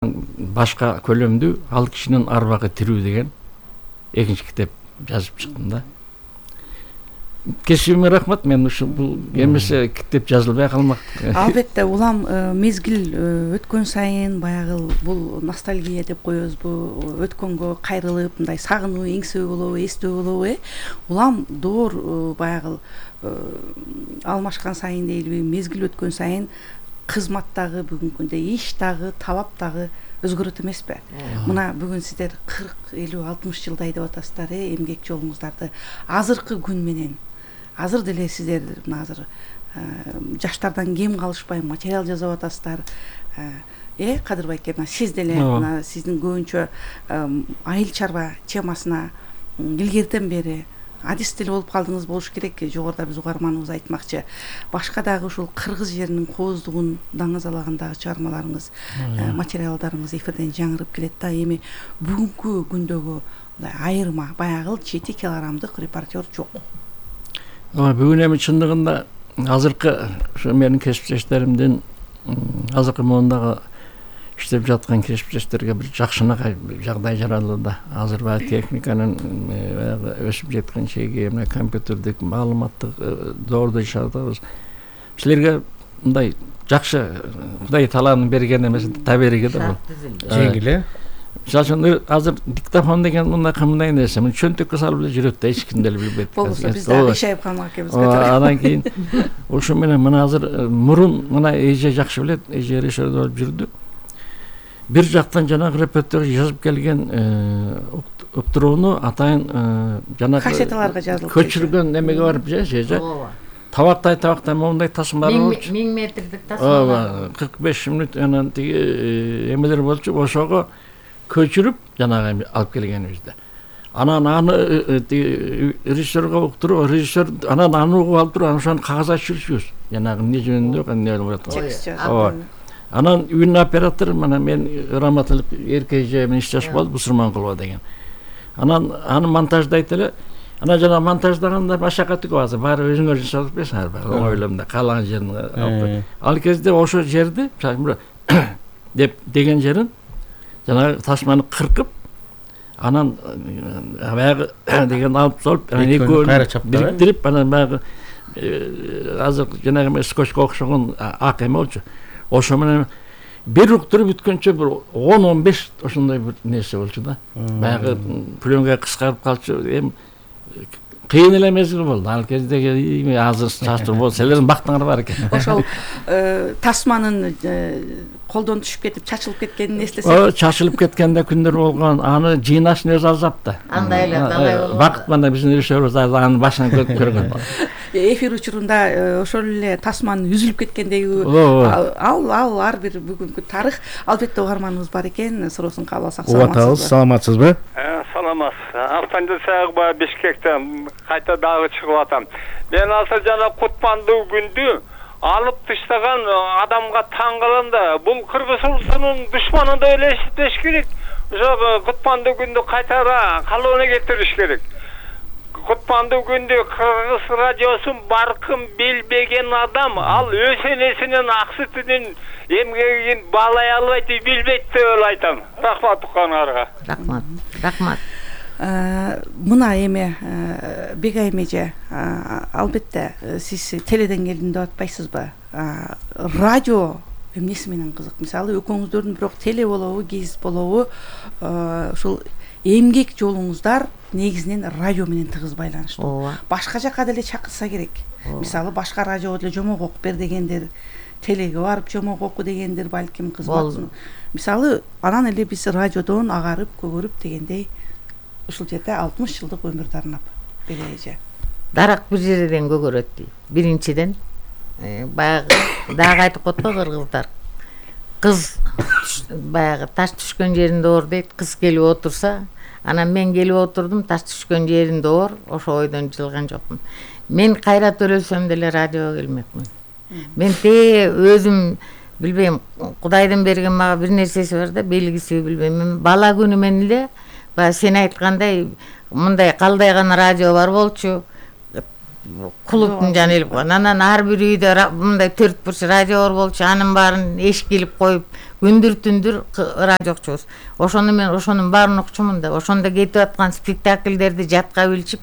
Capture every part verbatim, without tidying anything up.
башка көлөмдүү ал кишинин арбагы тирүү деген экинчи китеп жазып чыктым да. Кесибиме рахмат. Мен ушу бул эмесе китеп жазылбай калмак. Албетте, улам мезгил өткөн сайын баягы бул ностальгия деп коебузбу, өткөнгө кайрылып, мындай сагынуу, эңсөө болобу, эстөө болобу, э? Улам доор баягы алмашкан сайын дейбиз, мезгил өткөн сайын кызмат дагы, бүгүнкү күндө иш дагы, талап дагы өзгөрөт эмеспи? Мына бүгүн сиздер кырк, элүү, алтымыш жылдай деп атасыздар, э, эмгек жолуңуздарды. Азыркы күн менен азыр деле сиздер мына азыр жаштардан кем калышпай материал жазып атасыздар. Э, Кадыр байке, мына сиз деле мына сиздин көбүнчө айыл чарба темасына илгертен бери адис деле болуп калдыңыз болуш керек. Жогоруда биз угарманыбыз айтмакчы. Башка дагы ушул кыргыз жеринин кооздугун даңазалагандагы чыгармаларыңыз, материалдарыңыз эфирден жаңырып келет да. Эми бүгүнкү күндөгү айырма баягы жети килограммдык репортер жок. Бүгүн эми чындыгында азыркы ушу менин кесиптештеримдин азыркы моундагы иштеп жаткан кесиптештерге бир жакшынакай жагдай жаралууда. Азыр баягы техниканын өсүп жеткен чеги, мына компьютердик маалыматтык доордо иш атабыз. Силерге мындай жакшы Кудай талаанын берген эмес, табериги да бул. Жеңил, э? Мисалы үчүн азыр диктофон деген мындай кымдай нерсе, мына чөнтөккө салып эле жүрөт да, эч ким деле билбейт. Болбосо биз дагы ишайып калмак экенбиз. Андан кийин ошо менен мына азыр мурун мына эже жакшы билет, эже режиссер болуп жүрдү. Бир жактан жанагы репертуар жазып келген уктурууну атайын жанагы кассеталарга жазылып көчүргөн немеге барып же табактай табактай моундай тасмалар болчу. миң метрдик тасмалар. Ооба, кырк беш мүнөт анан тиги эмелер болчу. Ошого көчүрүп жанагы алып келгенибизде. Анан аны режиссерге уктуруу, режиссер анан аны угуп алып туруп, ошону кагазга түшүрчүбүз. Жанагы эмне жөнүндө, эмне болуп атат. Ооба. Анан үн оператор мына мен раматылык эрке эже менен иштеш болду, Бусурманкулова деген. Анан аны монтаждайт эле. Анан жана монтаждаганда машакаты көп, азыр баары өзүңөр жасап берсиңер, баары оңойломда каалаган жерин алып. Ал кезде ошо жерди, деп деген жерин жанагы тасманы кыркып, анан баягы деген алып солуп, анан экөөнү бириктирип, анан баягы азыр жанагы скотчко окшогон ак эме болчу. Ошо менен бир уктуруп бүткөнчө бир он он беш ошондой бир нерсе болчу да. Баягы пленка кыскарып калчу. Эми кыйын эле мезгил болду. Ал кездеги азыр чачуу болсо силердин бактыңар бар экен. Ошол тасманын колдон түшүп кетип чачылып кеткенин эстесек. О, чачылып кеткенде күндөр болгон. Аны жыйнаштын өзү азап да. Андай эле, андай болду. Бакыт мына биздин режиссерибиз аны башынан көргөн. Эфир учурунда ошол эле тасманын үзүлүп кеткендеги ал ал ар бир бүгүнкү тарых. Албетте угарманыбыз бар экен, суроосун кабыл алсак. Саламатсызбы? Саламатсызбы? Саламат. Автандыр Сагба Бишкектен кайта дагы чыгып атам. Мен азыр жана Кутмандуу күндү алып таштаган адамга таң калам да. Бул Кыргыз улусунун душманы деп эле эсептеш керек. Ошо Кутмандуу күндү кайтара калыбына кетириш керек. Кутмандуу күндү Кыргыз радиосун баркын билбеген адам ал өз энесинин ак сүтүнүн эмгегин баалай албайт, билбейт деп эле айтам. Рахмат уккандарга. Рахмат. Рахмат. Мына эми Бегайым эже, албетте сиз теледен келдим деп атпайсызбы? Радио эмнеси менен кызык? Мисалы экөөңүздөрдүн бирок теле болобу, гезит болобу, ушул эмгек жолуңуздар негизинен радио менен тыгыз байланыштуу. Башка жака деле чакырса керек. Мисалы башка радиого деле жомок окуп бер дегендер, телеге барып жомок оку дегендер балким кызмат. Мисалы анан эле биз радиодон агарып, көгөрүп дегендей ушул жерде алтымыш жылдык өмүрдү арнап береже. Дарак бир жерден көгөрөт дейт. Биринчиден баягы дагы айтып котпо кыргыздар. Кыз баягы таш түшкөн жеринде оор дейт. Кыз келип отурса, анан мен келип отурдум, таш түшкөн жеринде оор, ошо ойдон жылган жокмун. Мен кайрат өлсөм деле радиого келмекмин. Мен те өзүм билбейм, Кудайдын берген мага бир нерсеси бар да, белгиси билбейм. Мен бала күнүмөн эле баягы сен айткандай мындай калдайган радио бар болчу. клубтун жаны элеп койгон. Анан ар бир үйдө мындай төрт бурч радиолор болчу, анын баарын эшикке илип коюп күндүр түндүр радио окчубуз. Ошону мен ошонун баарын окчумун да, ошондо кетип аткан спектакльдерди жатка билчип,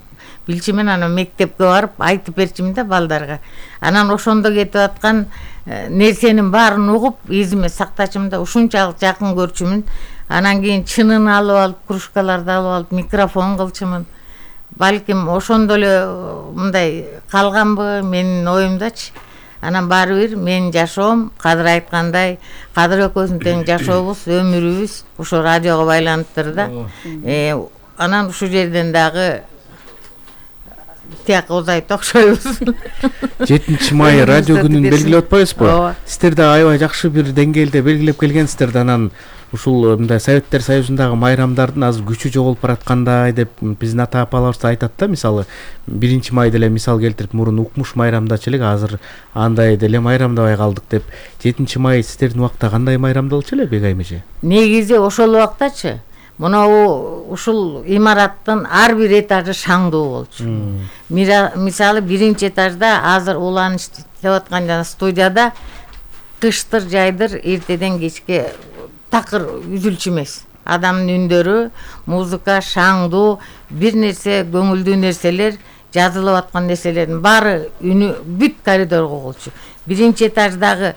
билчимен анан мектепке барып айтып берчимин да балдарга. Анан ошондо кетип аткан нерсенин баарын угуп, эзиме сактачымын да, ушунчалык жакын көрчүмүн. Анан кийин чынын алып алып, кружкаларды алып алып, микрофон кылчымын. Балким ошондо эле мындай калганбы менин оюмдачы. Анан баары бир менин жашоом, Кадыр айткандай, Кадыр экөөбүздүн тең жашообуз, өмүрүбүз ошо радиого байланыптыр да. Э, анан ушул жерден дагы тияк озайт окшойбуз. жетинчи май радио күнүн белгилеп атпайбызбы? Сиздер да аябай жакшы бир деңгээлде белгилеп келгенсиздер да. Анан ушул мындай Советтер Союзундагы майрамдардын азыр күчү жоголуп бараткандай деп биздин ата апаларыбыз айтат да. Мисалы биринчи май деле мисал келтирип, мурун укмуш майрамдачу элек, азыр андай деле майрамдабай калдык деп. жетинчи май сиздердин убакта кандай майрамдалчу эле, Бегайым эже? Негизи ошол убактачы Мына ушул имараттын ар бир этажы шаңдуу болчу. Мисалы биринчи этажда азыр уланыш деп аткан жана студияда кыштыр жайдыр эртеден кечке такыр үзүлчү эмес. Адамдын үндөрү, музыка, шаңдуу, бир нерсе көңүлдүү нерселер, жазылып аткан нерселердин баары үнү бүт коридорго угулчу. Биринчи этаждагы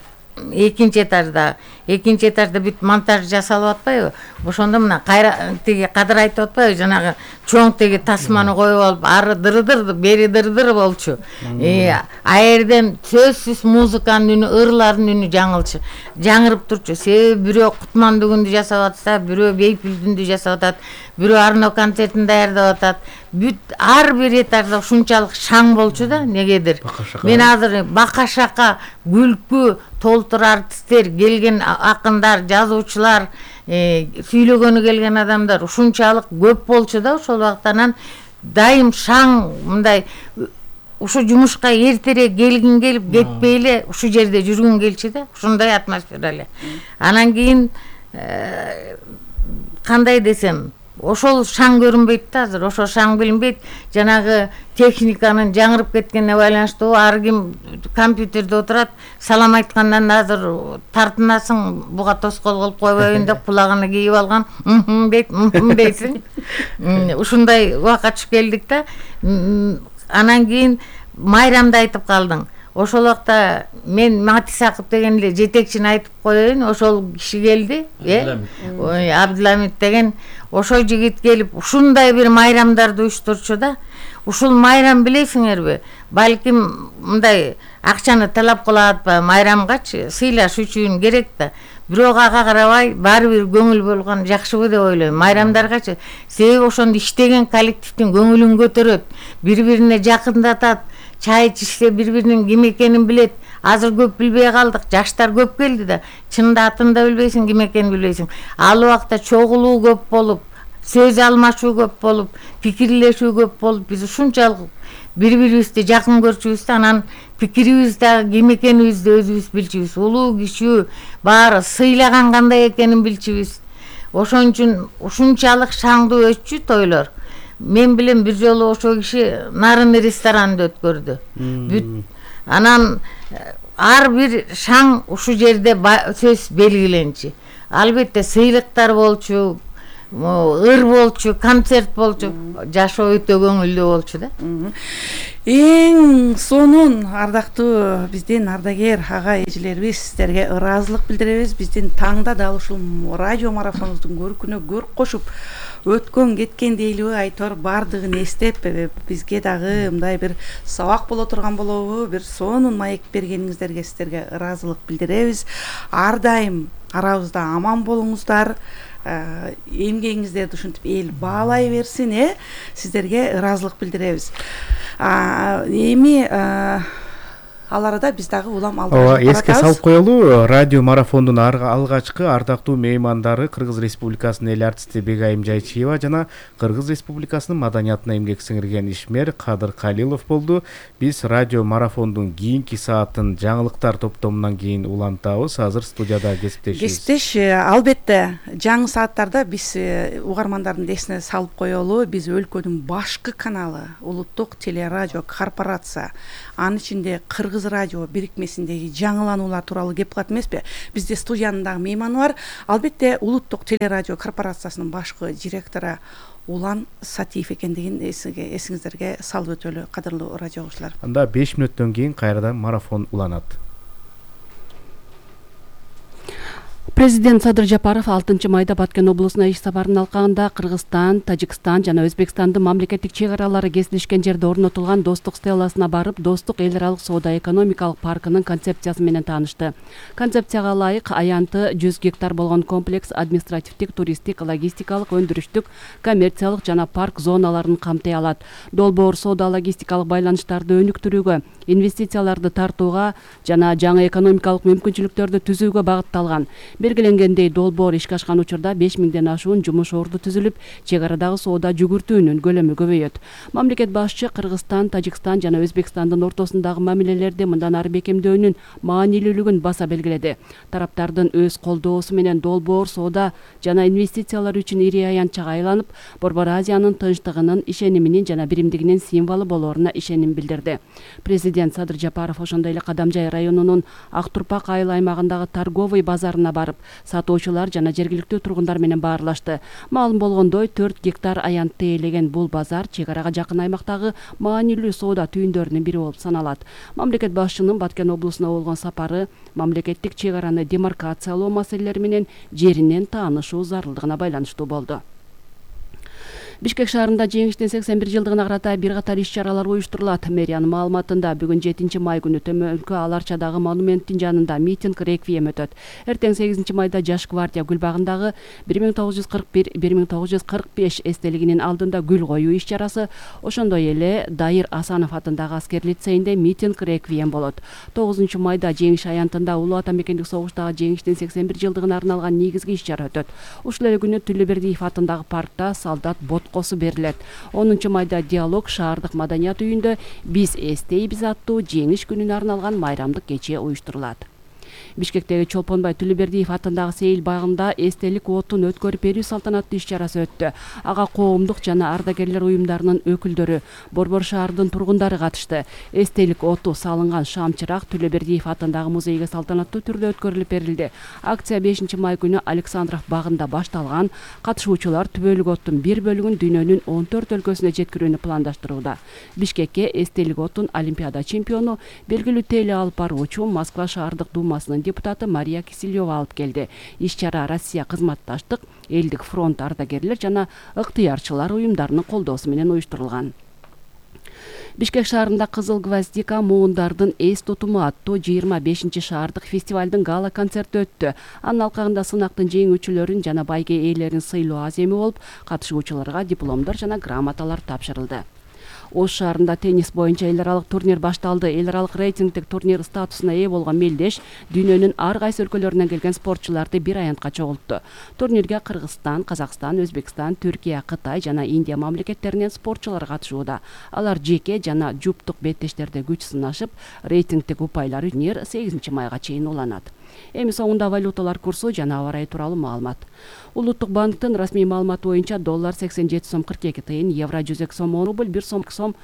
экинчи этажда, экинчи этажда бүт монтаж жасалып атпайбы? Ошондо мына кайра тиги Кадыр айтып атпайбы? Жанагы чоң теги тасманы коюп алып, ары дырдыр, бери дырдыр болчу. Э, аерден сөзсүз музыканын үнү, ырлардын үнү жаңылчу. Жаңырып турчу. Себеби бирөө Кутмандыгүндү жасап атса, бирөө Бейпилдүндү жасап атат, бирөө Арно концертин даярдап атат. Бүт ар бир этажда ушунчалык шаң болчу да, негедир. Мен азыр бака-шака, күлкү, толтур артисттер, келген акындар, жазуучулар, сүйлөгөнү келген адамдар ушунчалык көп болчу да ошол убактан. Дайым шаң, мындай ушу жумушка эртерээк келгин келип, кетпей эле ушу жерде жүргүн келчү да, ушундай атмосфера эле. Анан кийин кандай десем, ошол шаң көрүнбөйт да азыр, ошол шаң билинбейт. Жанагы техниканын жаңырып кеткенине байланыштуу, ар ким компьютерде отурат, салам айткандан азыр тартынасың, буга тоскоол кылып койбойбун деп кулагына кийип алган, мм дейт, мм дейсиң. Ушундай убакка түшүп келдик да. Анан кийин майрамды айтып калдың. Ошол убакта мен Мати Сакып деген эле жетекчини айтып коеюн, ошол киши келди, э? Абдыламит деген ошол жигит келип ушундай бир майрамдарды уюштурчу да. Ушул майрам билесиңерби? Балким мындай акчаны талап кылат ба майрамгачы, сыйлаш үчүн керек да. Бирок ага карабай баары бир көңүл болгон жакшыбы деп ойлойм. Майрамдаргачы, себеби ошондо иштеген коллективдин көңүлүн көтөрөт, бири-бирине жакындатат. Чай ичишсе бири-биринин ким экенин билет. Азыр көп билбей калдык, жаштар көп келди да. Чынында атын да билбейсиң, ким экенин билбейсиң. Ал убакта чогулуу көп болуп, сөз алмашуу көп болуп, пикирлешүү көп болуп, биз ушунчалык бири-бирибизди жакын көрчүбүз да, анан пикирибизди ким экенибизди өзүбүз билчүбүз. Улуу кишүү баары сыйлаган кандай экенин билчүбүз. Ошон үчүн ушунчалык шаңдуу өтчү тойлор. Мен билем бир жолу ошол киши Нарын ресторанында өткөрдү. Бүт анан ар бир шаң ушу жерде сөз белгиленчи. Албетте сыйлыктар болчу, ыр болчу, концерт болчу, жашоо өтө көңүлдүү болчу да. Эң сонун ардактуу биздин ардагер ага эжелерибиз, сиздерге ыраазылык билдиребиз. Биздин таңда дал ушул радио марафонубуздун көркүнө көрк кошуп өткөн кеткен дейлиби айтор бардыгын эстеп бизге дагы мындай бир сабак боло турган болобу, бир сонун маек бергениңиздерге сиздерге ыраазылык билдиребиз. Ар дайым арабызда аман болуңуздар, эмгегиңиздерди ушинтип эл баалай берсин, э? Сиздерге ыраазылык билдиребиз. Эми ал арада биз дагы улам ооба эске салып коелу, радио марафондун алгачкы ардактуу меймандары Кыргыз Республикасынын эл артисти Бегайым Жайчиева жана Кыргыз Республикасынын маданиятына эмгек сиңирген ишмер Кадыр Калилов болду. Биз радио марафондун кийинки саатын жаңылыктар топтомунан кийин улантабыз. Азыр студияда кесиптешибиз. Кесиптеш, албетте жаңы сааттарда биз угармандардын эсине салып коелу, биз өлкөнүн башкы каналы Улуттук телерадио корпорация, анын ичинде Кыргыз радио бирикмесиндеги жаңылануулар тууралуу кеп кылат эмеспи? Бизде студиянын дагы мейманы бар. Албетте Улуттук телерадио корпорациясынын башкы директору Улан Сатиев экендигин эсиңиздерге салып өтөлү, кадырлуу радио угуучулар. Анда беш мүнөттөн кийин кайрадан марафон уланат. Президент Садыр Жапаров алтынчы майда Баткен облусуна иш сапарынын алкагында Кыргызстан, Тажикстан жана Өзбекстандын мамлекеттик чек аралары кесилишкен жерде орнотулган достук стелласына барып, достук эл аралык соода экономикалык паркынын концепциясы менен таанышты. Концепцияга ылайык аянты жүз гектар болгон комплекс административдик, туристтик, логистикалык, өндүрүштүк, коммерциялык жана парк зоналарын камтый алат. Долбоор соода логистикалык байланыштарды өнүктүрүүгө, инвестицияларды тартууга жана жаңы экономикалык мүмкүнчүлүктөрдү түзүүгө багытталган. Белгиленгендей, долбоор ишке ашкан учурда беш миңден ашуун жумуш орду түзүлүп, чек арадагы соода жүгүртүүнүн көлөмү көбөйөт. Мамлекет башчы Кыргызстан, Тажикстан жана Өзбекстандын ортосундагы мамилелерди мындан ары бекемдөөнүн маанилүүлүгүн баса белгиледи. Тараптардын өз колдоосу менен долбоор соода жана инвестициялар үчүн ири аянтчага айланып, Борбор Азиянын тынчтыгынын, ишениминин жана биримдигинин символу болоруна ишеним билдирди. Президент Садыр Жапаров ошондой эле Кадамжай районунун Ак Турпак айыл аймагындагы торговый базарына барып, сатуучулар жана жергиликтүү тургундар менен баарлашты. Маалым болгондой, төрт гектар аянтты ээлеген бул базар чек арага жакын аймактагы маанилүү соода түйүндөрүнүн бири болуп саналат. Мамлекет башчынын Баткен облусуна болгон сапары мамлекеттик чек араны демаркациялоо маселелери менен жеринен таанышуу зарылдыгына байланыштуу болду. Бишкек шаарында жеңиштин сексен бир жылдыгына карата бир катар иш-чаралар уюштурулат. Мэриянын маалыматында бүгүн жетинчи май күнү Төмөнкү Аларчадагы монументтин жанында митинг реквием өтөт. Эртең сегизинчи майда Жаш гвардия гүлбагындагы бир миң тогуз жүз кырк бир — бир миң тогуз жүз кырк беш эстелигинин алдында гүл коюу иш-чарасы, ошондой эле Дайыр Асанов атындагы аскер лицейинде митинг реквием болот. тогузунчу майда Жеңиш аянтында Улуу Ата мекендик согуштагы жеңиштин сексен бир жылдыгына арналган негизги иш-чара өтөт. Ушул эле күнү Түлөбердиев атындагы паркта солдат бот косу берилет. онунчу майда Диалог шаардык маданият үйүндө Биз эстейбиз аттуу жеңиш күнүнө арналган майрамдык кече уюштурулат. Бишкектеги Чолпонбай Түлөбердиев атындагы сейил багында эстелик отун өткөрүп берүү салтанаттуу иш-чарасы өттү. Ага коомдук жана ардагерлер уюмдарынын өкүлдөрү, Борбор шаардын тургундары катышты. Эстелик оту салынган шам-чырак Түлөбердиев атындагы музейге салтанаттуу түрдө өткөрүлүп берилди. Акция бешинчи май күнү Александров багында башталган. Катышуучулар түбөлүк оттун бир бөлүгүн дүйнөнүн он төрт өлкөсүнө жеткирүүнү пландаштырууда. Бишкекке эстелик отун Олимпиада чемпиону, белгилүү теле алып баруучу Москва шаардык думасынын депутаты Мария Киселева алып келди. Иш-чара Россия кызматташтык, элдик фронт ардагерлер жана ыктыярчылар уюмдарынын колдоосу менен уюштурулган. Бишкек шаарында Кызыл гвоздика муундардын эс тутуму аттуу жыйырма бешинчи шаардык фестивалдын гала концерти өттү. Анын алкагында сынактын жеңүүчүлөрүн жана байге ээлерин сыйлоо аземи болуп, катышуучуларга дипломдор жана грамоталар тапшырылды. Ош шаарында теннис боюнча эл аралык турнир башталды. Эл аралык рейтингдик турнир статусуна ээ болгон Мелдеш дүйнөнүн ар кайсы өлкөлөрүнөн келген спортчуларды бир аянтка чогултту. Турнирге Кыргызстан, Казакстан, Өзбекстан, Түркия, Кытай жана Индия мамлекеттеринен спортчулар катышууда. Алар жеке жана жуптук беттештерде күч сынашып, рейтингдик упайлар турнир сегизинчи майга чейин уланат. Эми соңунда валюталар курсу жана аба ырайы тууралуу маалымат. Улуттук банктын расмий маалыматы боюнча доллар сексен жети сом кырк эки тыйын, евро жүз эки сом он рубль, бир сом сом.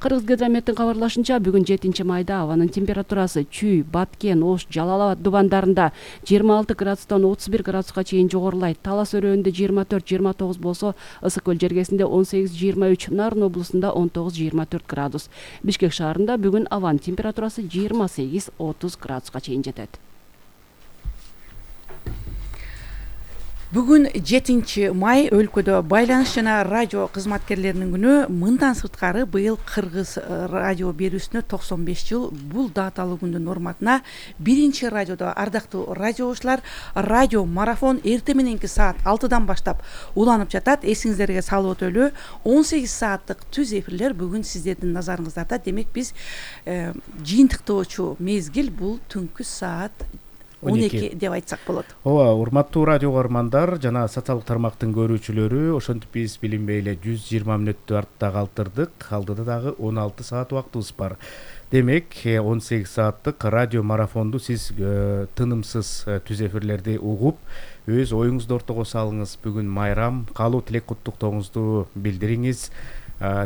Кыргызгидрометтин кабарлашынча, бүгүн жетинчи майда абанын температурасы Чүй, Баткен, Ош, Жалал Абад дубандарында жыйырма алты градустан отуз бир градуска чейин жогорулайт. Талас өрөөнүндө жыйырма төрт жыйырма тогуз болсо, Ысык көл жергесинде он сегиз жыйырма үч, Нарын облусунда он тогуз жыйырма төрт градус. Бишкек шаарында бүгүн абанын температурасы жыйырма сегиз отуз градуска чейин жетет. Бүгүн жетинчи май өлкөдө байланыш жана радио кызматкерлеринин күнү. Мындан сырткары быйыл Кыргыз радио берүүсүнө токсон беш жыл. Бул даталуу күндүн урматына биринчи радиодо ардактуу радиочулар радио марафон эртең мененки саат алтыдан баштап уланып жатат. Эсиңиздерге салып өтөлү, он сегиз сааттык түз эфирлер бүгүн сиздердин назарыңыздарда. Демек биз э, жыйынтыктоочу мезгил бул түнкү саат он эки деп айтсак болот. Ооба, урматтуу радио көрөрмандар жана социалдык тармактын көрүүчүлөрү, ошентип биз билинбей эле жүз жыйырма мүнөттү артта калтырдык. Алдыда дагы он алты саат убактыбыз бар. Демек он сегиз сааттык радио марафонду сиз тынымсыз түз эфирлерди угуп, өз оюңузду ортого салыңыз. Бүгүн майрам, каалоо тилек куттуктооңузду билдириңиз.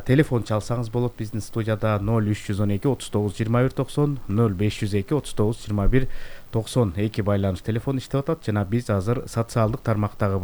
Телефон чалсаңыз болот биздин студияда ноль үч жүз он эки отуз тогуз жыйырма бир токсон, ноль беш жүз эки отуз тогуз жыйырма бир токсон эки байланыш телефон иштеп атат жана биз азыр социалдык тармактагы